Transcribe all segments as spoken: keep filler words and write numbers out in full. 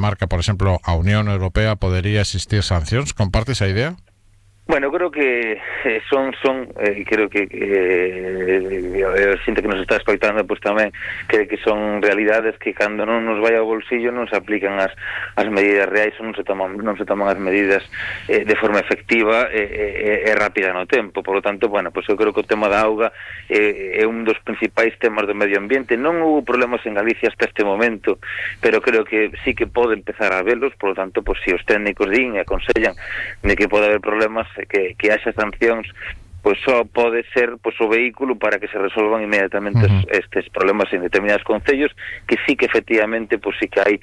marca, por exemplo, a Unión Europea, podería existir sancións? Comparte esa idea? Bueno, creo que eh, son, son eh, creo que eh, a xente que nos está escoitando pues tamén creo que son realidades que cando non nos vai ao bolsillo non se aplican as, as medidas reais ou non se toman, non se toman as medidas eh, de forma efectiva e eh, eh, eh, rápida no tempo. Por lo tanto, bueno, pues eu creo que o tema da auga eh, é un dos principais temas do medio ambiente. Non houve problemas en Galicia hasta este momento, pero creo que sí que pode empezar a velos. Por lo tanto, pues si os técnicos din e aconsellan de que pode haber problemas, que, que haxa sancións, pois só pode ser pois o vehículo para que se resolvan inmediatamente uh-huh. estes problemas en determinados concellos, que sí que efectivamente pois sí que hai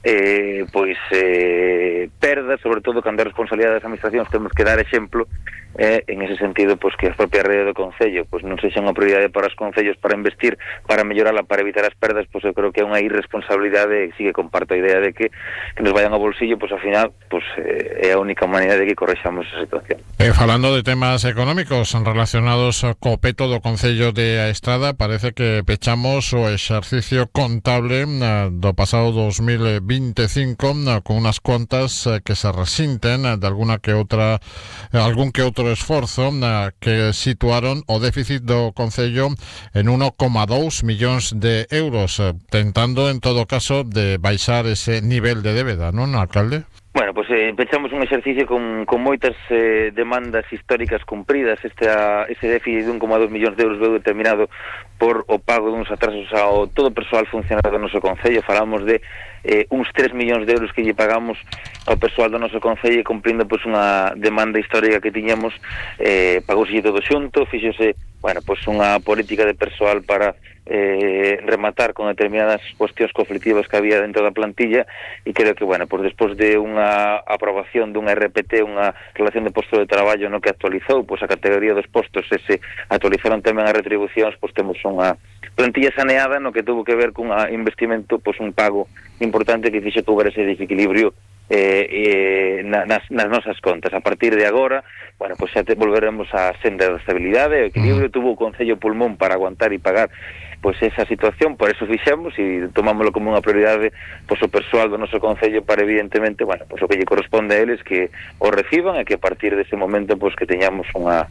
eh, pois eh, perdas, sobre todo cando é responsabilidade das administracións. Temos que dar exemplo eh, en ese sentido, pois que a propia rede do concello pois non sexa unha prioridade para os concellos para investir, para mellorala, para evitar as perdas. Pois eu creo que é unha irresponsabilidade, e sí que comparto a idea de que, que nos vayan ao bolsillo, pois ao final pois eh, é a única maneira de que correxamos esa situación. Eh, falando de temas económicos relacionados co peto do Concello de A Estrada, parece que pechamos o exercicio contable uh, do pasado dos mil vinte e cinco uh, con unas contas uh, que se resinten uh, de alguna que outra uh, algún que outro esforzo uh, que situaron o déficit do Concello en uno coma dous millóns de euros, uh, tentando en todo caso de baixar ese nivel de débeda, non, alcalde? Bueno, pois pues, eh, pechamos un exercicio con, con moitas eh, demandas históricas cumpridas. Este, a, este déficit de un coma dous millóns de euros veu determinado por o pago de uns atrasos ao todo o persoal funcionario do noso Concello. Falamos de eh, uns tres millóns de euros que lle pagamos ao persoal do noso Concello, cumprindo pois pues, unha demanda histórica que tiñamos. Eh, pagouse todo xunto, fíxose, bueno, pois pues, unha política de persoal para eh, rematar con determinadas cuestións conflictivas que había dentro da plantilla, e creo que, bueno, pois despois de unha aprobación dunha R P T, unha relación de posto de traballo no que actualizou pois a categoría dos postos, e se actualizaron tamén as retribucións, pois temos unha plantilla saneada no que tuvo que ver cun investimento, pois un pago importante que fixo que houbera ese desequilibrio eh, eh, na, nas, nas nosas contas. A partir de agora, bueno, pois xa te volveremos á senda da estabilidade e o equilibrio. Tuvo o Concello pulmón para aguantar e pagar pois esa situación, por eso fixemos e tomámoslo como unha prioridade pois o persoal do noso Concello, para evidentemente, bueno, pois o que lle corresponde a eles que o reciban, e que a partir dese momento pois que teñamos unha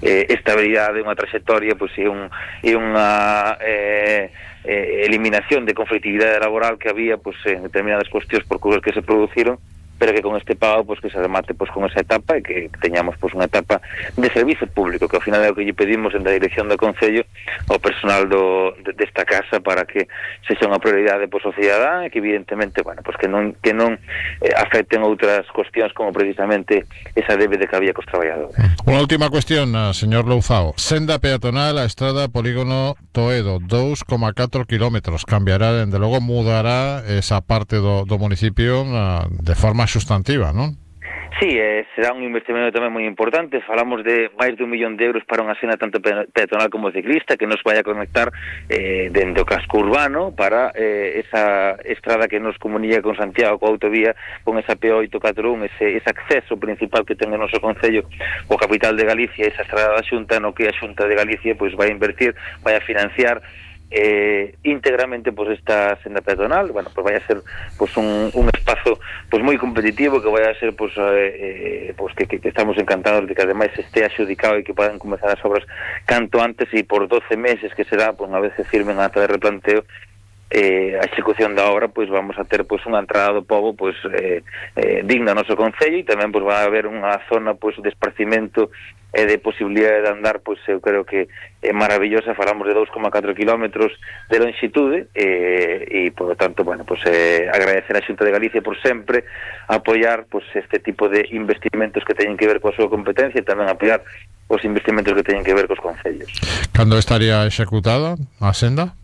eh, estabilidade, unha trayectoria, pois e, un, e unha eh, eh, eliminación de conflictividade laboral que había pois en determinadas cuestións por cousas que se produciron, pero que con este pago pois que se remate pois con esa etapa, e que teñamos pois unha etapa de servizo público, que ao final é o que lle pedimos en da dirección do Concello ao personal do de, desta casa, para que sexa unha prioridade pois ao cidadán, e que evidentemente, bueno, pois que non que non eh, afecten outras cuestións como precisamente esa débeda que había cos traballadores. Unha última cuestión, señor Louzao. Senda peatonal a Estrada Polígono Toedo, dous coma catro kilómetros. Cambiará, dende logo mudará esa parte do, do municipio uh, de forma sustantiva, non? Sí, eh, será un investimento tamén moi importante. Falamos de máis de un millón de euros para unha senda tanto peatonal como ciclista, que nos vai a conectar eh, dentro do casco urbano para eh, esa estrada que nos comunica con Santiago, coa autovía, con esa P oito catro un, ese, ese acceso principal que ten o noso Concello o capital de Galicia, esa estrada da Xunta, no que a Xunta de Galicia pois vai a invertir, vai a financiar eh, íntegramente pois esta senda peatonal. Bueno, pois vai a ser pois un, un espazo pois moi competitivo, que vai a ser pois, eh, pois que, que, que estamos encantados de que ademais este adxudicado e que podan comezar as obras canto antes, e por doce meses que será, pois unha vez se firmen a ata de replanteo eh, a execución da obra, pois vamos a ter pois unha entrada do pobo pois eh, eh, digna ao noso Concello, e tamén pois vai haber unha zona pois de esparcimento e de posibilidade de andar, pois eu creo que é maravillosa. Falamos de dous coma catro kilómetros de longitude, eh, e por lo tanto, bueno, pois eh, agradecer a Xunta de Galicia por sempre apoiar pois este tipo de investimentos que teñen que ver coa súa competencia, e tamén apoiar os investimentos que teñen que ver cos concellos. Cando estaría executada a senda?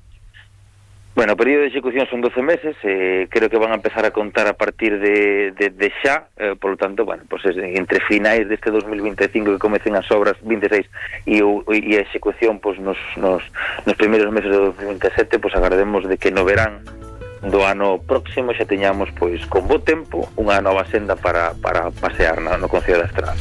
Bueno, o período de execución son doce meses, eh, creo que van a empezar a contar a partir de, de, de xa, eh, por lo tanto, bueno, pues entre finais deste dos mil vinte e cinco que comecen as obras vinte e seis e, o, e a execución pues, nos, nos, nos primeiros meses de dos mil vinte e sete, pues agardemos de que no verán do ano próximo xa teñamos pois con bo tempo unha nova senda para, para pasear no, no Concello da Estrada.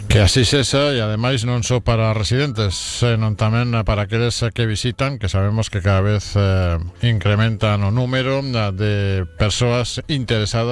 Que así sexa, e ademais non só para residentes, senón tamén para aqueles que visitan, que sabemos que cada vez eh, incrementan o número de persoas interesadas